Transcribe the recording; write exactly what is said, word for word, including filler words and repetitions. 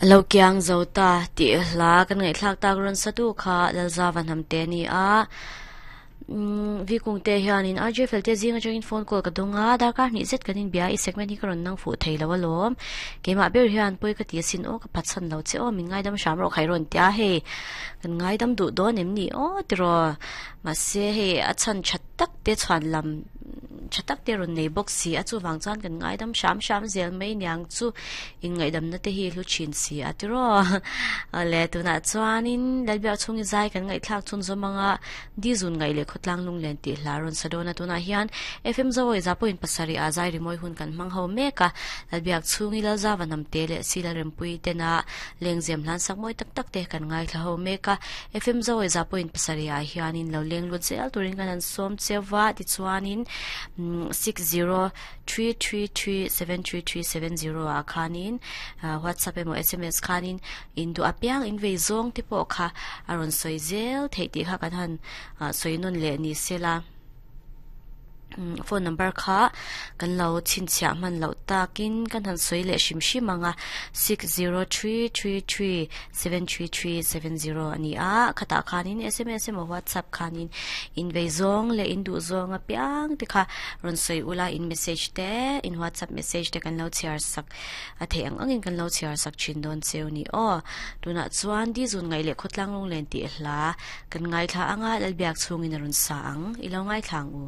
Lo kiang zo ta ti hla kan ngai thlak tak ron satu kha lalza van ham te ni a vi kung te hianin R J fel te zinga changin phone call ka donga darkar ni zet kanin bia i segment hi ka ron nang fu theilo alom keima ber hian poi ka ti sin o ka phatsan lo che o min ngai dam sham ro khai ron tia he kan ngai dam du don em ni o tiro ma se he a chan chat tak te chhan lam chatak te ron nei box si a chu wang chan kan ngai dam sham sham zel mai niang chu in ngai dam na te hi hlu chin si a tiro le tuna chuanin lalbia chungi zai kan ngai thlak chun zomanga di zun ngai le khotlang lung len ti hla ron sadona tuna hian F M zawoi za point pasari a zai rimoi hun kan mang ho meka lalbiak chungi lal za wanam te le sila rempui tena lengzem hlan sak moi tak tak te kan ngai thla ho meka F M zawoi za point pasari a hianin lo leng lut zel turin kan an som chewa ti chuanin six zero three three three seven three three seven zero a khanin WhatsApp emo S M S khanin indu apiang in vei zong te po kha aron soizel theiti kha kan han soinun le ni sela phone number kha kan lo chin chia man lo takin kan han soi le shim shim anga six zero three three three seven three three seven zero ani a khata khanin S M S emo WhatsApp khanin in vei zong le in du zong apiang te kha ron soi ula in message te in WhatsApp message te kan lo chiar sak a the ang angin kan lo chiar sak chin don cheu ni o tuna chuan di zun ngai le khotlang long len ti hla kan ngai thla anga lalbiak chungin ron sa ang ilo ngai thlang u.